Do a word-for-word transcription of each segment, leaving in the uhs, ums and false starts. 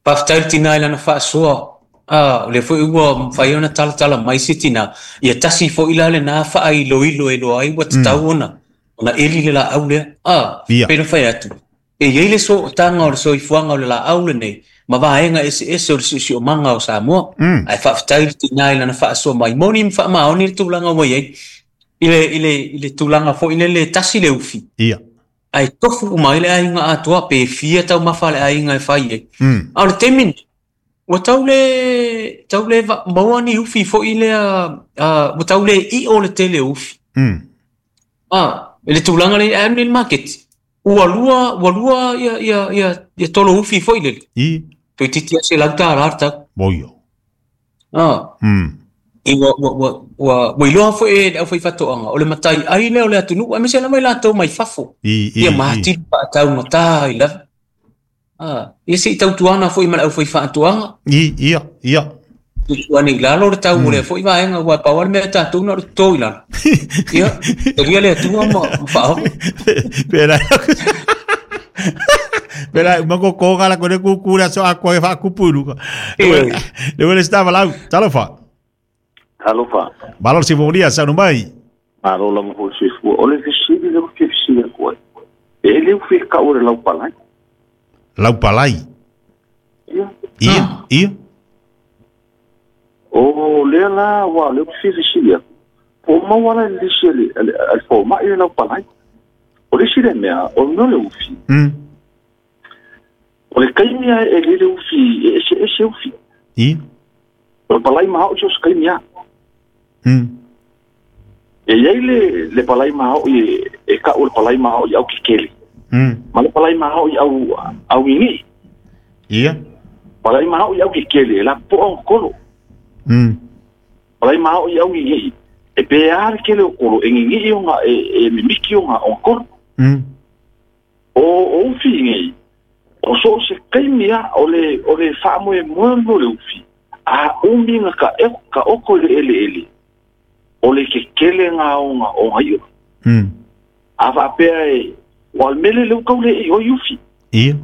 Faafetai le tina i lana faasoa. Ah, o lea foi ua mafai ona talatala mai se tina. Ia tasi foi la lena faailoilo e iloa ai ua tatau ona ona eli le laau lea. Ah, Ia. Pe na fai atu. E i ai le sootaga o le soifuaga o le laau lenei ma vaega eseese o le siosiomaga o Samoa. Mm. Ae faafetai le tina i lana faasoa mai. Moni ma faamaoni le tulaga ua i ai. I le, i le, i le tulaga foi lele tasi le ufi. Ia. Ae tofu uma ai le aiga atoa pe fia taumafa a le aiga e fai ai. Mm. A o le taimi lenei, ua tau le, tau le va- maua ni ufi foi lea, uh, ua tau le i'o le tele o ufi. Mm. Ah, i le tulaga lea e alu nei i le maketi. Ua lua, ua lua ia, ia, ia, ia tolo ufi foi lele. I. Toeitiiti lava selau tala le tau. Boio. Ah. Mm. I ua, ua, ua, ua, ua iloa foi e le aufaifaatoaga o le matai ai lea o le atunuu, aemaise lava i latou mai fafo. I, i, Ia i. ma atili faataugata ai lava. Ah, ia se i tautuana foi ma le aufaifaatoaga. I, ia, ia. Tuutuane i lalo le tau o lea foi vaega, ua pau lava le mea tatou na o le toto i lalo. Ia, talia le Atua ma, ma faaoga. Pera. Pera, uma ko la ko le ku ku la so akwa e fa kupu. Ioe. Le wele stava lau. Talofa. Alofa. Malo si volia sa no mai. Malo lava foi soifua. O le fesili lea ua fia fesili atu ai. E le ufi e kau o le laupalai. Lau palai. Ia. Ia, ia. O lea la ua lea ua fia fesili atu. Po o maua la i le lisi a le, a le, a le fomai le laupalai. O le isi le mea, o le mea o le ufi. Mm. O le kaimi a e lele ufi, e ese ese ufi. Ia. O le palai mahaʻo so se kaimi a. Mm. E iai le, le palai mahaʻo e, e kau o le palai mahaʻo i au kekele. Mm. Ma le palai mahaʻo i au, au ini'i. Ia. Palai mahaʻo i au kekele, e la po'a o kolo. Mm. Palai mahaʻo i au ini'i. E pe a le kele o kolo, e ngigi'i o ngā, e, e mimiki o ngā o kolo. Mm. O, o ufi nei, o so se kaimi a, o le, o le whaamoe moe mo le ufi, a umi nga ka, e, ka oko i le ele ele, o le ke kele ngā o ngā o ngā io. Mm. A whaapea e, o al mele le ukau le i o i ufi. Ia.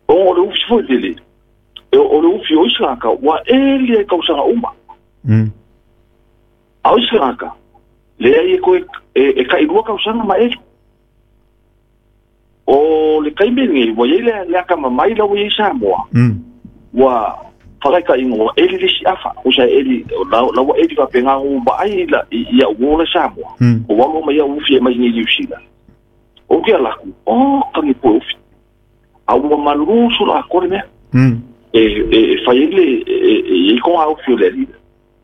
O o le ufi foi lele, e, o le ufi o isangaka, wa eli e kausanga uma. Mm. A o isangaka, le ai e koe, e, e ka ilua kausanga ma eli. O le kaime nei, wa iai le, le aka mamai la ua iai Samoa. Mm. Ua whakaika ingoa, eli le si afa. O sa eli, la, la ua eli wa penga o ba ai la, i, ia ua le Samoa. Mm. O walo mai ia ufi e mai nei New Zealand. O kia laku, o kangi poe ufi. A ua malusu la kore mea. Mm. E, e, e whai ele, e, e, e, e konga ufi o le ali.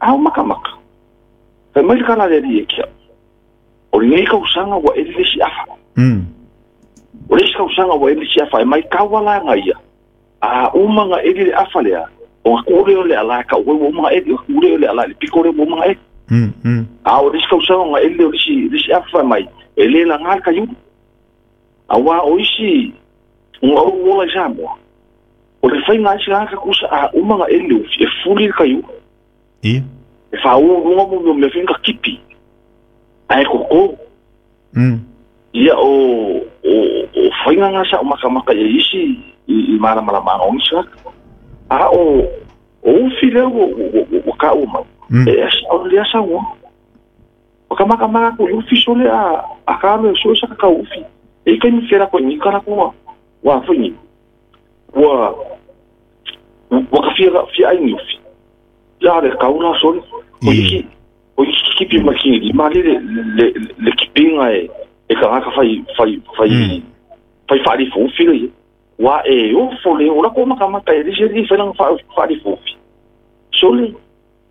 A o maka maka. Whai mai le kala le ali e kia. O le nei kausanga ua eli le si afa. Mm. O le isi kausanga ua eli si afa e mai kawa la nga ia. A uma nga eli le afa lea. O nga kure o le ala ka ue ua uma eli. O kure o le ala le piko le ua uma eli. Mm. Mm. A o le isi kausanga nga eli o le isi, le isi afa mai. E le la ngā ka iulu. A wā o isi nga o uola i Samoa. O le whai ngā isi ngā ka kusa a uma nga eli ufi e fuli le ka iulu. Ia. E wha ua runga mo mea mea whinga kipi. A e koko. Mm. Ia o, o, o whainga ngā sa o makamaka ia isi i, i maramarama o ngisa. A o, o ufi leo o, o, o, o ka o mau. Mm. E asa o le asa ua. O ka makamaka ko i ufi sole a, a ka alo e so sa ka ufi. E kai mi whera ko i nikara ko wa whaingi. Wa, wa ka fia, fia ai ni ufi. Ia le kaula sole. O I. iki, o iki kipi makini. Ma le, le, le, le kipinga e, e ka ngaka whai, whai, whai, Mm. whai whaari fōfi le. Wa e ofo le, o la ko makamaka e lise li whainanga whaari fōfi. So le,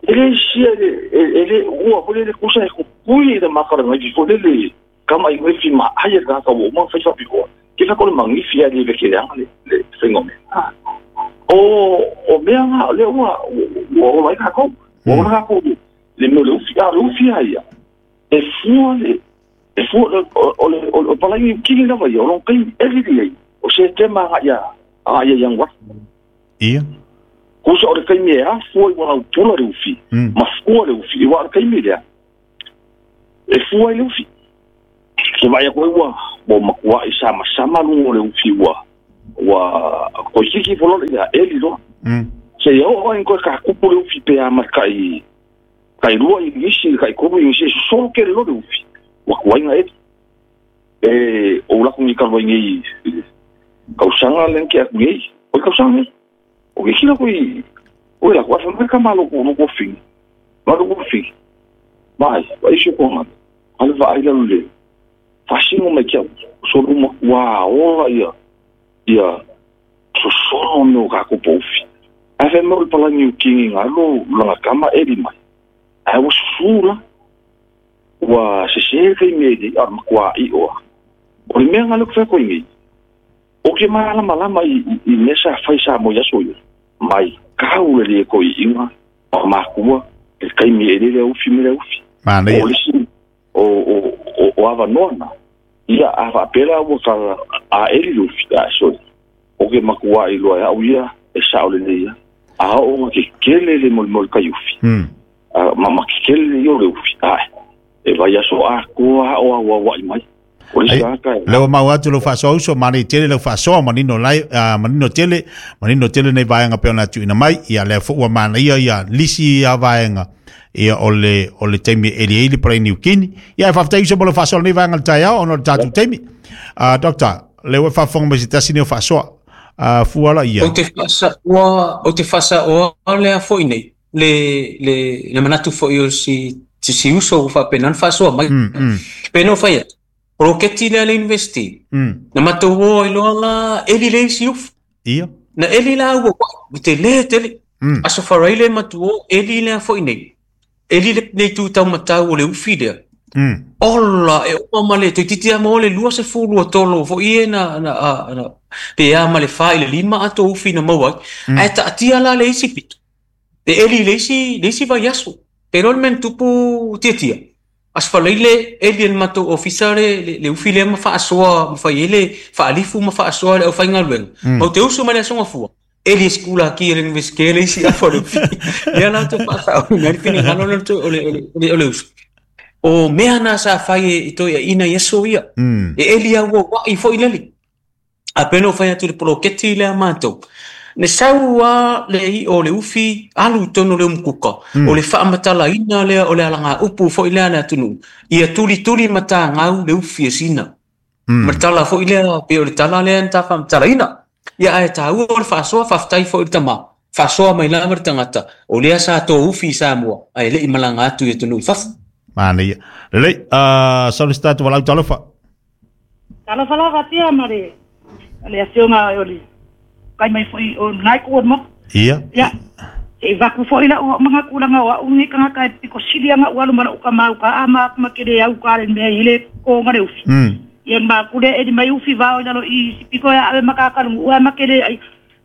e le sia le, e, e le, ua fole le kusa e kukui le makara ngai fo le le, kama i ngai ma ai e ngaka wo ma whai whapi hoa. Ke whako le mangifi a le veke le anga le, le whaingo mea. Ah. O, o mea ngā, le ua, ua ola i kākou. Ua ola kākou le, le mea o le ufi, a le ufi a ia. E fua le, e fua le, o, o le, o, o palai kini lava ia, o long kai eli li ai. O se tema nga ia, a ia yang wa. Ia. Kusa o le kai mea, fua i wana utula le ufi. Mm. Ma fua le ufi, i wa le kai mea lea. E fua i le ufi. Ke vai a koe ua, ua makua i sama sama lungo le ufi ua, ua, koe kiki fololo ia, eli loa. Se ia o ai koe ka kupu le ufi pe a makai kai lua i isi kai koru i isi solo ke le le ufi. Wa kuainga e e o la kungi kalwa ngi kausanga len ke aku ngi. O kausanga ngi. O ke kila kui o la kwa fa ka malo ko no ko fi. Malo ko fi. Vai, vai se ko ma. Ale vai la le. Fasino me kia solo ma wa ola ia ia solo no ka ko pofi. Ave mo pala ni kingi ngalo la kama eli mai. Ai o sula wa se se ke me di ar kwa i o. O le mea ngalo ko ngi. O ke mala mala i i nesa faisa mo ya so yo. Mai kau le ko i inga o makua e kai me ele le ufi me le ufi. Ma ne. O le si o o o ava nona. Ia ava pela o ka a eli ufi a so. O ke makua i loa au ia e sa o le ia. A o ke kele le mol mol kai ufi. Mm. A mama ke kele yo le ufi. A e vai a so a ko a o a wa mai. O le sa ka. Le o mau atu lo faso uso mani tele lo faso manino lai manino tele manino tele nei vaenga pe ona tuina mai ia le fu mana ia ia lisi ia vaenga ia o le o le taimi eli eli pra ni ukini ia fa ftai uso lo faso nei vaenga tai o no tatu taimi a doctor le o fa fonga se tasini o faso a fuala ia o te fasa o o te fasa o le afoi nei le le le manatu foi o si si uso fa penan faso mai pe no fa Roketi le le university. Mm. Na matou i loa la eli le isi ufu. Ia. Na eli la ua wa te le tele. Mm. Aso farai le matuo eli le afoi nei. Eli le nei tu tau matau o le ufi lea. Mm. Ola e oma male te titia mo le lua se fulu o tolo fo ie na na na pe a male fa i le lima ato ufi na maua. Mm. Ai ta tia la le isi pito. Te eli le isi le isi vai aso. Pero men tupu tia tia. As faleile eli el mato officer le le ufi le ma fa asoa ma fa ele fa alifu ma fa asoa le fa ngalwen ma te uso ma le songa fua eli skula ki ele investire si a fo le la to fa sa o ngal fini ngalo le to ole ole ole uso o mea na sa fa e to ina yeso ia e eli a wo i fo ileli a peno fa tu le poloketi le mato ne saua le i o le ufi alu tono le umkuka mm. O le faamatala ina lea o le alaga upu fo'i lea le atunuu ia tulituli matagau le ufi e sina mm. Matala fo'i lea pe o le tala lea na tafaamatalaina ia ae tāua o le faasoa faafetai fo'i le tamā faasoa mai lava le tagata o lea sa tō ufi i Samoa ae le'i malaga atu i atunuu i fafo. Manaia lelei uh, solistatu walau talofa talofa lava tia ma le le afioga o le kai mai foi o nai ko mo ia ia e vaku foi la o manga kulanga wa ungi kanga kai piko silia nga walu mala uka mau ka ama ma kele au ka le me ile ko ngare ufi mm ia ma kule e mai ufi va o lo i piko ya ave maka ka lu ma kele ai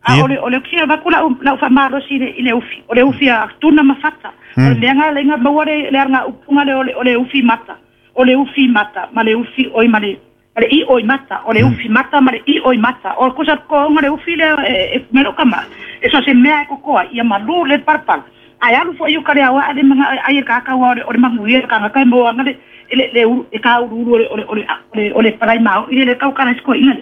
a ole ole kia vakula la fa ma ro si ile ufi ole ufi a tuna mafata ole le nga le nga maware le nga upunga le ole ole ufi mata ole ufi mata male ufi oi male ale i oi mata ole ufi mata male i oi mata o cosa ko ngare ufi le e melo kama e so se mea ko koa ia malu le parpal ai alu fo io kare awa ale manga ai ka ka wa ole mangu ia ka ka mo ngare le le e ka uru ole ole ole ole parai mau ile le kau kana sko ina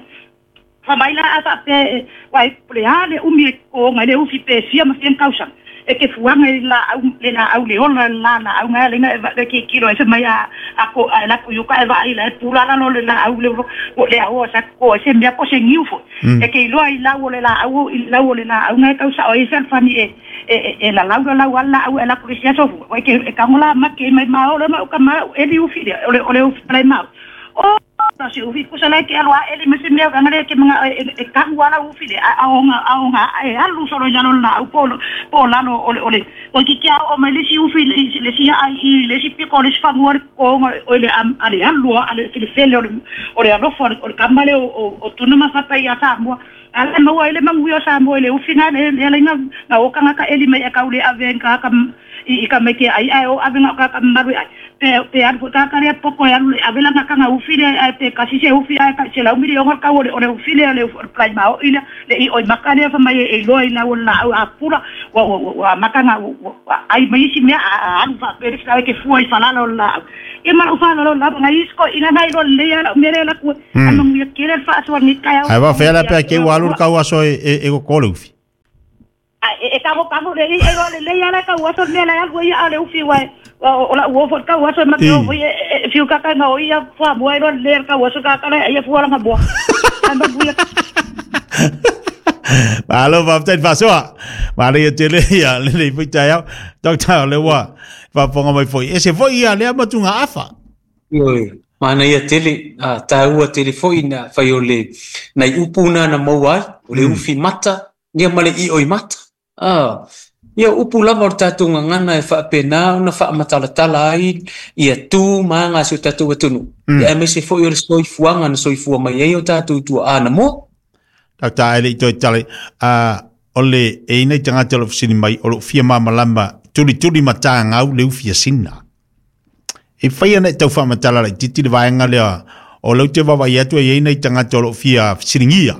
fa mai la asa pe wai le ale umi ko ngare ufi pe sia ma fien kausa e ke fuanga la le la au le ona la la au nga le nga le ke kilo e mai a a ko a la ku ka va ila pula la no le la au le o le au sa ko se mia ko se ngiu fo e ke lo ai la o le la au la o le la au nga ka sa o e sa fani e e e la la la la la au la ko se so fu e ke ka ngola ma ke mai ma o le ma ka ma e li u fi le o le u fi ma o na se ufi ko sala ke alwa ele me se me ga ngare ke mga e ka wala ufi le a o nga a o nga e alu solo ya no na u polo po la no ole ole o ki kia o me le si ufi le si ai i le si piko le si fangu ko o le am ale alu ale le fele ole ole alo for o kamale o o tuna ma fata ya sa mo ala mo ele mangu yo sa mo le ufi na le le nga na o ka ka eli me ka ule ave ka ka i ka me ke ai ai o ave nga ka maru ai pe pe alu ka ka le poko ya alu ave la ka nga ufi le pe ka si se ufi ai ka se la umi le ka ole ole ufi le le plai ma o ila le i oi makane fa mai e lo ila o la a pura wa wa makanga ai mai si me alu fa pe ka ke fua i fala lo la e ma o fala lo la nga isko ina nai lo le ya me le la ku anu mi ke le fa so ni ka ai va fe la pe ke wa alu ka wa so e e ko le ufi ai e tango tango le i e le le ala ka uaso me la alu ia ale ufi wa o la uofo ka uaso ma te o e fiu ka ka nga o ia fua mua e le ka uaso ka ka ia fua la nga ai ma buia. Malo faafetai faasoa manaia tele ia lelei foi taeao Doctor le ua faafofoga mai foi ese foi ia lea matuga afa. Ioe, manaia tele a taua tele foi na fai o le nai upu na na maua ai o le ufi mata ia ma le i'o i mata. Ah, ia upu lava o le tatou gagana e faapena ona faamatalatala ai ia tu ma aga a si o tatou atunuu. Ia aemaise foi o le soifuaga na soifua mai ai o tatou tua'a na moa. Doctor e le'i toe tala a o le e ina i tagata o loo fesili mai o loo fia mamalama tulituli matagau le ufi asina. E fai ana e tau faamatala laititi le vaega lea o lau te vavaai atu e iai nai tagata o loo fia fesiligia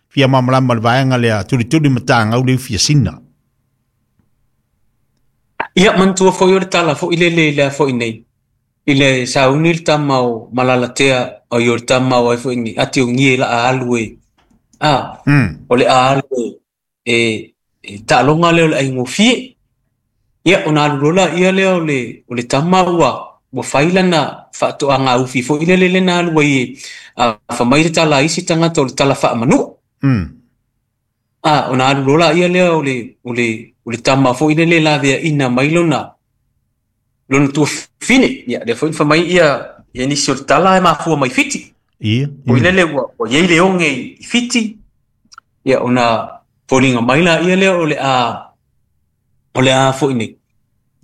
fia mamalama le vaega lea tulituli matagau le ufi asina. Ia manatua foi o le tala foi lele i lea foi nei i le sauni le tama o malalatea o i o le tama o ai foi nei ati o gie la a alu e a o le a alu e e taaloga lea o le aigofie. Ia ona alu loa laia lea o le o le tama ua ua fai lana faatoaga ufi foi lele le na alu ai e a famai le tala a isi tagata o le tala faamanua. A ona alu loa laia lea o le o le o le tama foi lele laveaina mai lona lona tuafafine. Ia lea foi na famai ia ia nisi o le tala e mafua mai Fiti. Ia. Foi lele ua ua iai le oge i Fiti. Ia ona foliga mai laia lea o le a o le a foi nei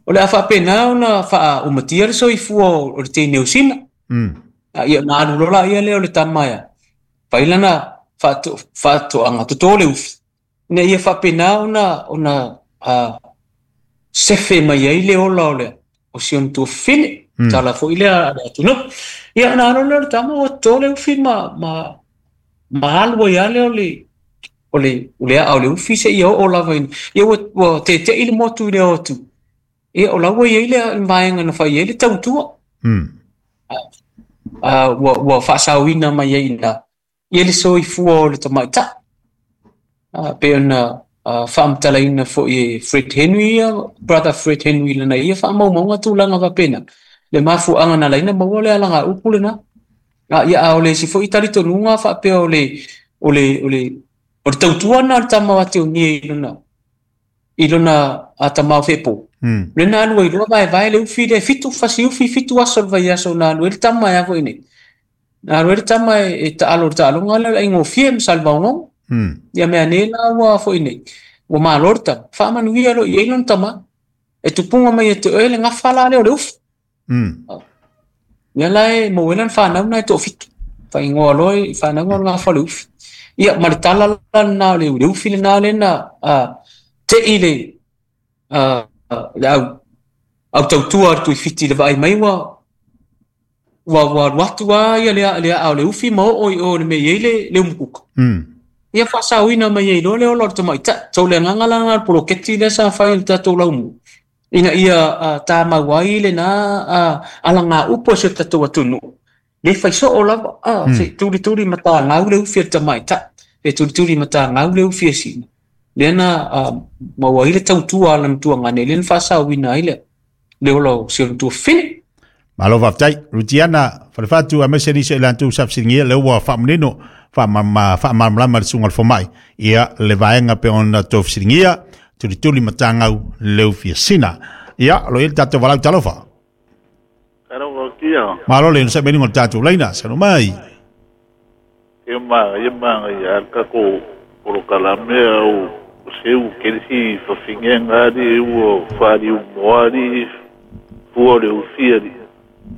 o le a faapena ona faaumatia le soifua o le teine o sina. Ia ona alu loa laia lea o le tama ia fai lana faatoaga totō le ufi ina ia faapena ona ona a sefe mai ai le ola o le o si ona tuafafine tala foi lea a le atunuu. Ia ona alu lea o le tama ua totō le ufi ma ma ma alu ai lava lea o le o le o le aa o le ufi seia oo lava ina ia ua ua tete'i le motu i le o atu. Ia o la ua iai le vaega na fai ai le tautua. A ua ua faasaoina mai ai ina ia le soifua o le tamaita'i. A pe ona faamatalaina foi e Fred Henry ia, brother Fred Henry lana ia faamaumauga tulaga faapena le mafuaaga na laina maua le alaga upu lena. A ia a o le isi foi talitonuga faapea o le o le o le o le tautua na o le tama o ate o nie i lona i lona a tamā o feepo. Le na alu ai loa vaevae le ufi le fitu fasi ufi fitu aso le vaiaso na alu ai le tama e a foi nei. Na alu ai le tama e, e taalo le taaloga lea o le aigofie ma Salevaogogo. Ia mea nei la ua foi nei ua malo le tama faamanuia loa i ai lona tama e tupuga mai e te oe le gafa la lea o le ufi. Ia la e maua ai lana fanau na e toafitu faaigoa loa i fanauga o le gafa o le ufi. Ia ma le tala la lena o le le ufi lena lena a te'i le a le au au tautua le tuifiti le vaai mai ua ua ua alu atu lava ia le le aa o le ufi ma oo i o le mea i ai le le umukuka. Ia faasaoina mai ai loa le ola o le tamaita'i. So le agaga la lena o le poloketi lea sa fai i le tatou laumu ina ia tamau ai lena alaga upu a si o tatou atunuu le fai soo lava a se tulituli matagau le ufi a le tamaita'i pe tulituli matagau le ufi a sina lea na maua ai le tautua a lana tuagane lea na faasaoina ai le le ola o si ona tuafafine. Malo faafetai Rutiana Falefatu aemaise nisi o i latou sa fesiligia lea ua faamanino faamalamalama le susuga o le fomai ia le vaega pe ona tou fesiligia tulituli matagau le ufi asina. Ia o lo i ai le tatou valaau talofa. Malo le onosai mai luga o le tatou laina saunoa mai. Ia ma ia ma ia ka ko polokalame au seu kelisi fafingenga ali ua fari moari fua le ufi ali.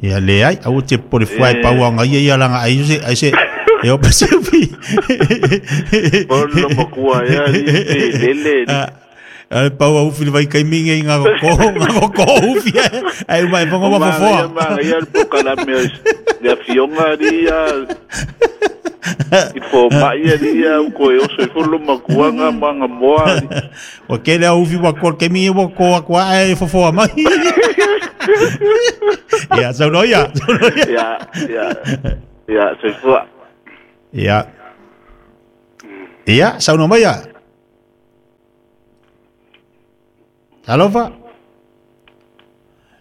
Ia leai aua te popole fua e pau aga ia ia laga ai se ai se e o pase ufi. Polo makua ia ali lele. A pau a ufi le vai kaimi ngai ngā ko ngā ko ufi ai mai fonga wa fofoa. Ia ma ia le polokalame le afionga ali ia i po mai ali ia ko e oso i folo makuanga manga moa ali. O ke le ufi wa ko kaimi wa ko kwa e fofoa mai. Ia saunoa ia saunoa ia. Ia ia ia soifua. Ia. Ia saunoa mai ia. Talofa.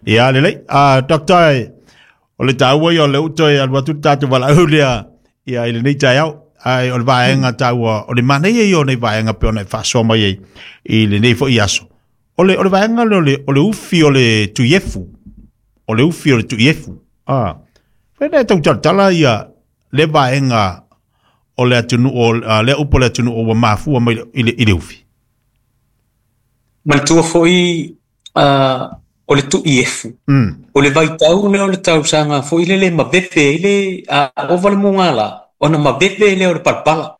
Ia lelei. Ah doctor o le taua ia o le uto e alu atu tatou valaau lea ia i lenei taeao. Ai o le vaega taua o le manaia ia o nei vaega pe ona e faasoa mai ai i lenei foi aso. O le o le vaega lea o le o le ufi o le tuiefu. O le ufi o le tuiefu. Ah. Fena e tau talatala ia le vaega o le atunuu o le upu o le atunuu ua mafua mai i le i le ufi. Manatua foi uh, o le tuiefu. Mm. O le vaitau lea o le tausaga foi lele maveve i le a ova le mugala ona maveve lea o le palapala.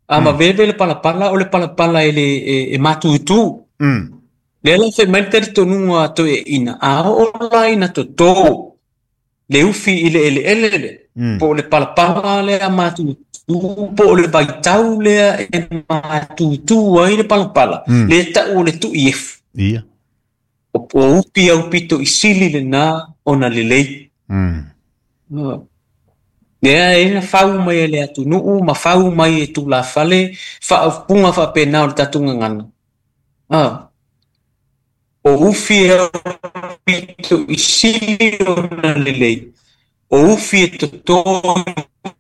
A Mm. maveve le palapala o le palapala e le e, e matutu. Mm. Lea la fai mai le talitonuga toeaina a oo la ina totō le ufi i le eleele le Mm. po o le palapala lea matutu po o le vaitau lea e matutu ai le palapala Mm. le ta'u o le tuiefu. Ia. O, o upi au pito i sili lena ona lelei. Mm. Ah. Lea e na fau mai e le atunuu ma fau mai e tulafale faapuga faapena o le tatou gagana. Ah. O ufi e au pito i sili ona lelei. O ufi e totō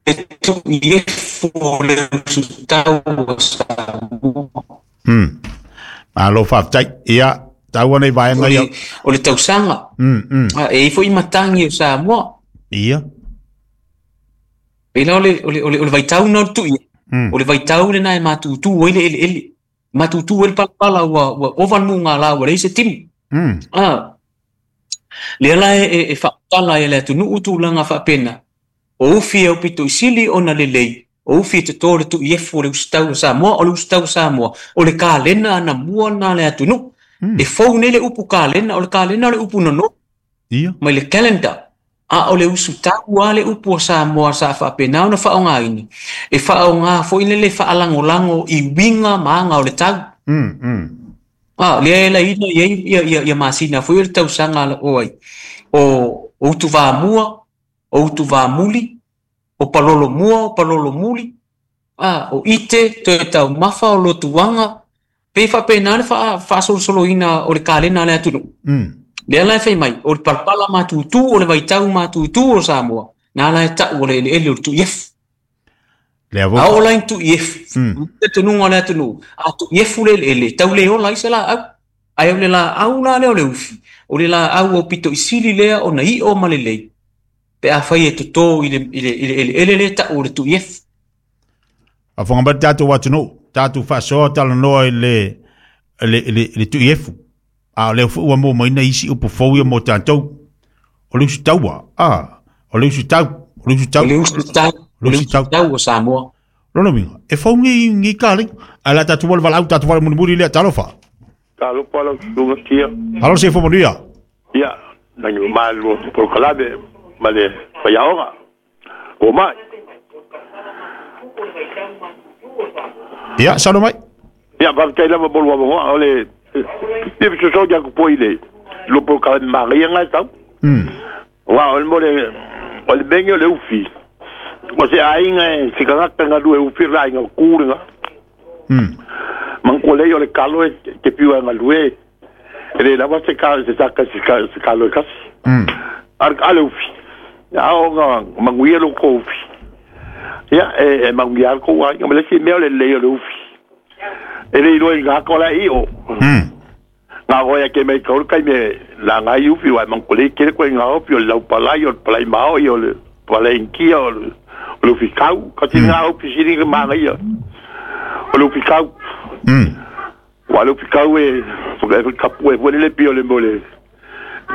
e tuiefu o le usutau o Samoa. Mm. Malo faafetai. Ia taua nei O vaega ia. le, o le tausaga. Mm, mm. Ah, e i foi matagi o Samoa. Ia. Pela o le, o le, o le, o le vaitau na o le tui. Mm. O le vaitau lena e matutu ai le eleele. Matutu ai le palapala ua, ua ova le mugala ua leai se timu. Mm. Ah, lea la e, e, e faamatala e le atunuu tulaga faapena. O ufi e au pito i sili ona lelei. O ufi e totō le tuiefu o le usitau o Samoa, o le usitau o Samoa. O le kalena anamua na le atunuu. Mm. E fou nei le upu kalena, o le kalena o le upu nono Ia. mai le calendar. A o le usutau a le upu o Samoa sa faapena ona faaaogaina. E faaaoga foi le le faalagolago i uiga ma aga o le tau. Mm, mm. Ah, lea e laina i ai ia, ia, ia masina foi o le tausaga la o ai. O, o utuvamua, o utuvamuli, o palolomua, o palolomuli, ah, o ite, toe taumafa, o lotuaga, pe faapena le faa, faasolosoloina o le kalena a le atunuu. Mm. Lea la e fai mai, o le palapala matutu, o le vaitau matutu o Samoa, na la e ta'u o le eleele o le tuiefu. Lea A vo. oo la ina tuiefu, Mm. talitonuga o le atunuu, a tuiefu le eleele, tau le ola ai se laau. Ae o le laau la lea o le ufi, o le laau au pito i sili lea ona i'o ma lelei, pe afai e totō i le, i le, i le eleele lea ta'u o le tuiefu. Afonga mai tatou atunuu, tatou faasoa talanoa i le le le le tuiefu. A o lea foi ua maua mai na isi upu fou ia mo tatou. O le usitaua. Ah, o le usitau, o le usitau. O le usitau, o le usitau o Samoa. Lona uiga, e fou nei nei kalei. Ala tatou wale valaau, tatou wale mulimuli lea talofa. Talofa lau susuga tia. Alo se fo manuia. Ia, nagi malu polokalame ma le faiaoga. O mai. Ia, salo mai. Ia, faafetai lava mo le avanoa o le ia fesoasoani atu foi i le lo polokalame magaia ga e tau. Mm. Uā o le mo le o le mege o le ufi. O se aiga e se tagata galue ufi le aiga o ku lega. Mm. Mankolei o le kalo e te piu e galue. E le lava se ka se saka se ka se kalo e kasi. Mm. Ar a le ufi. Ia o nga manguia lo ko ufi. Ia e e manguia ko ai ma le si mea o le lei o le ufi. E le iloa i ngā kola i o. Mm. Ngā hoi ke mei kauru kai me la ngā i ufi wai mankolei kere koe ngā ufi o le lau palai o le palai maoi o le palai inkia o le o le ufi kau. Kasi ngā ufi sini ke mangaia. O le ufi kau. Mm. Wa le ufi kau e e kapu e fue le pio le mo le.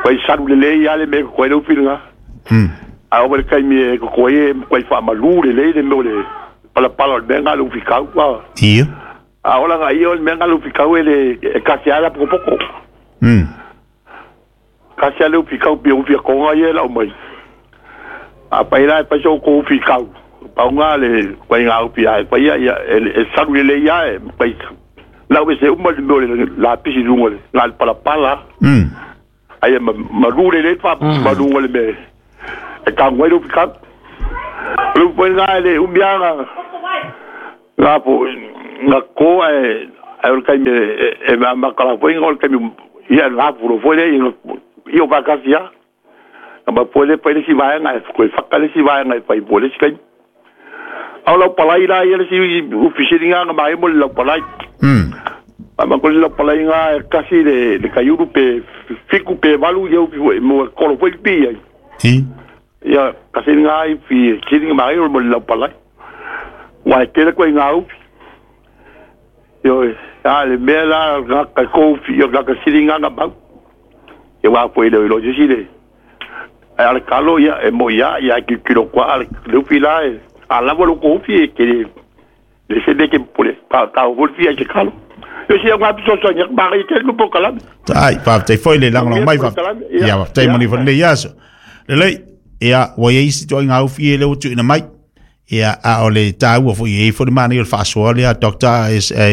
Koe saru le lei ale me koe le ufi ngā. Mm. A o le kai me koe e koe whaamalu le lei le mo le palapala o le mea ngā le ufi kau. Ia. A ola ngā ia o le mea ngā le ufi kau e le e kasi ala pokopoko. Mm. Kasi ale ufi kau pia ufi a konga ia e lau mai. A pai la e pai so ko ufi kau. Pau ngā le koe ngā ufi a e pai ia ia e, e saru le lei ia e pai lau e se uma le mea o le la pisi lunga le ngā le palapala. Mm. Ai e ma, malu le le fa malunga le mea e kangwai le ufi kau. O le ufi ngā le umianga ngā po ngā koa e Ai o le taimi e makala foi o le taimi ia la furo foi le ia o vakasi a. Na ma foi le pai le si vaenga e koe whaka le si vaenga e pai po le si kai. Au lau palai la ia le si ufisiri ngā ngā mai mo le lau palai. Mm. Ma ko le lau palai ngā e kasi le, le kaiuru pe fiku pe valu ia upi foi mo kolo foi pi ai. I. Ia kasi ngā i fi siri ngā mai mo le lau palai. Wai tele koe ngā upi. Io a le mea la ngā ka koufi ia ngā ka siri ngā ngā mau. Ia wā foi le ilo si le. Ai ale kalo ia e mo ia ia ki kilo kwa ale lupi la e a lava lo kofi e ke le se de ke pole pa ta o fi e ke kalo yo si ngā piso so nya ba ke no pokala Tai, faafetai foi le lagolago mai ia faafetai mo ni foi lenei aso. Lelei, ia ua iai isi toaiga ufi e le ua tuuina mai. Ia a o le taua foi e foi le manaia o le faasoa lea Doctor S A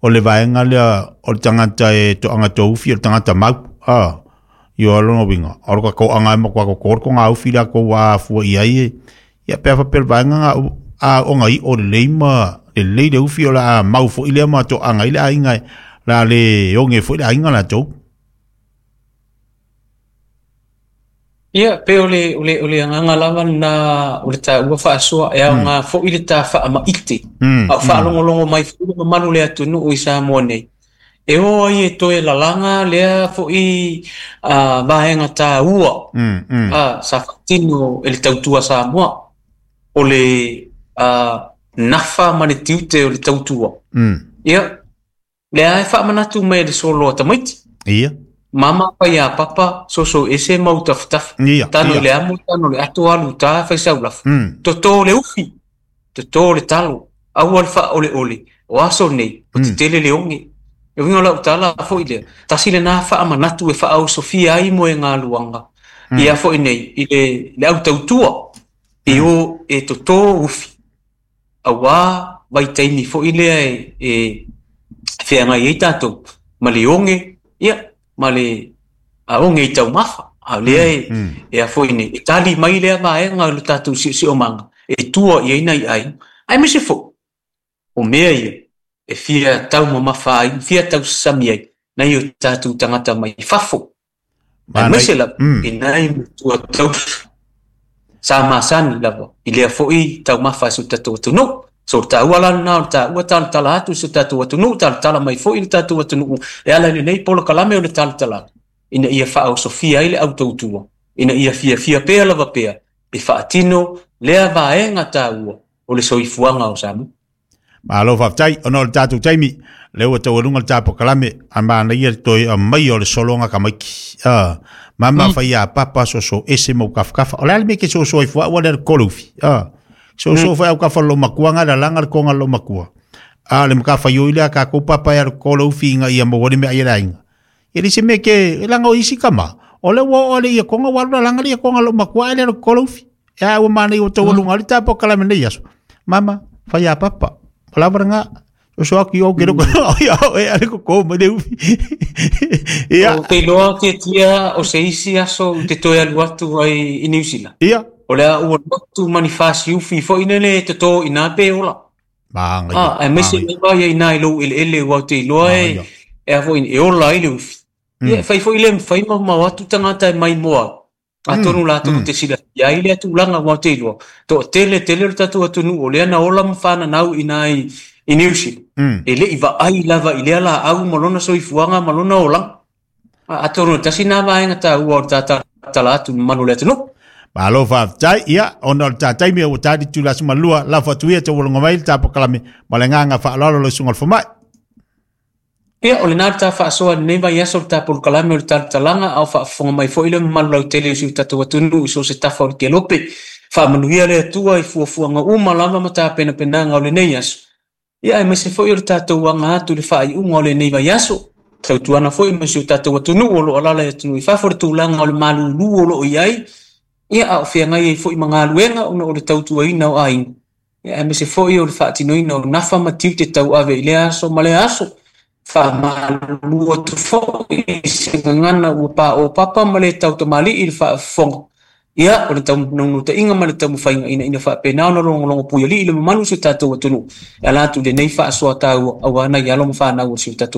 o le vaega lea o le tagata e toaga toufi o le tagata mau. Ah, io lona uiga o le kakoaga e matua koko ko ngā ufi la ko wā fua i ai e. Ia pea faapea le vaega nga a o ngai o lelei ma lelei le ufi o la mau foi lea ma toaga i le aiga la le oge foi le aiga latou. Ia, pe o le, o le, o le agaga lava na o le taua faasoa e aoga foi le ta faamaite. Mm, A o faalogologo mai foi le mamalu le atunuu i Samoa nei. E o ai e toe lalaga lea foi a vaega taua mm, mm. a sa faatino e le tautua Samoa. O le a, nafa ma le tiute o le tautua. Mm. Ia, lea e faamanatu mai le solo a tamaiti. Ia. Mama pai a papa soso ese mau tafatafa. Ia, Tano ia. le amo, tano le ato alu tā whai saulafa. Mm. Toto le ufi, toto le talo, aua le wha ole ole, o aso nei, o te tele le onge. E winga lau tala foi lea, tasi le nā wha amanatu e wha au sofia ai mo e ngā luanga. Mm. Ia foi nei, i le, le au tautua, e o e toto ufi. Aua vai teini foi lea e, e whianga i tātou, ma le onge, ia, ma le a onge i taumafa. A lea e, Mm. e a foi nei, e tali mai lea vaega o le tātou siosiomaga, e tua i ai nai aiga. Ai me se fo, o mea ia, e fia taumamafa ai, fia tausasami ai, nai o tātou tagata mai fafo. Ai Manai. me se lava, Mm. e nai matua tausi. Sa masani lava, i lea foi taumafa i so tātou atunuu. So taua la na o taua talatala atu i so tātou atunuu, talatala mai foi i le tātou atunuu. E ala i lenei polokalame o le talatala. Ina ia faaosofia ai le autautua. Ina ia fiafia pea lava pea. E faatino lea vaega taua o le soifuaga o Samoa. Malo faafetai ona o le tatou taimi le ua taualuga le tapokalame a manaia le toe aumai o le sologa kamaiki. Ah, mama Mm. fai a papa soso ese mau kafakafa. O le a le mea ke soso ai fua ua le kolo ufi. Ah, soso foi au kafa lo makua nga la langa le konga lo makua. A le makafa yo ile ka ko papa ya kolo ufi nga ia mo wori me ai la inga. E le se me ke e langa o isi kama. O le wa o le ia konga wa la langa le ia konga lo makua ele le kolo ufi. Ya ua manaia o taualuga le tapokalame nei aso. Mama fai a papa. Palavra nga so aku yo kero ya e ale ko ko me le ufi. Ia O te iloa tia o se isi aso u te toe alu atu ai i New Zealand. ia O lea ua alu atu ma ni fasi ufi foi nele toto i nā pe ola. manga ia. Ah, aemaise Manga ia. lava ia inā i lou eleele ua o te iloa e Manga ia. e a foi e ola ai le ufi. Ia, e fai foi le mawhai maumau atu tagata e mai moa au. Atonu latou Mm. te silafia ai lea tulaga ua o te iloa. Toatele tele o le tatou atunuu o lea na ola ma whananau inā i, i New Zealand. Mm. E lei vaai lava i lea laau ma lona soifuaga ma lona olaga. A- Atonu e tasi nā vaega taua o le tatatala atu mamalu o le atunuu. Malo faafetai ia ona o le tataimi ua tali tulasi malua lafo atu ia taualoga mai le tapokalame ma le agaga faaaloalo le susuga o le fomai. Ia, o lena le ta faasoa lenei vaiaso le tapolokalame o le talatalaga a o faafofoga mai foi le mamalu lautele o si o tatou atunuu i so o se tafa o le kelope. Faamanuia le Atua i fuafuaga uma lava ma tapenapenaga o lenei aso. Ia, aemaise foi o le tatou aga atu i le faaiuga o lenei vaiaso. Tautuana foi ma si o tatou atunuu o loo alala i atunuu i fafo le tulaga o le malūlū o loo i ai. Ia, a o feagai ai foi ma galuega ona o le tautuaina o aiga. Ia, aemaise foi o le faatinoina o nafa ma tiute tauave i lea aso ma lea aso. Faamalulu atu foi i se gagana ua paopapa ma le tautamali'i i le faafofoga. Ia, o le taunaunutaiga ma le taumafaiga ina ina faapena ona logologo puialii le mamalu o si o tatou atunuu e ala atu i lenei faasoa taua auā nai alo ma fanau o si o tatou.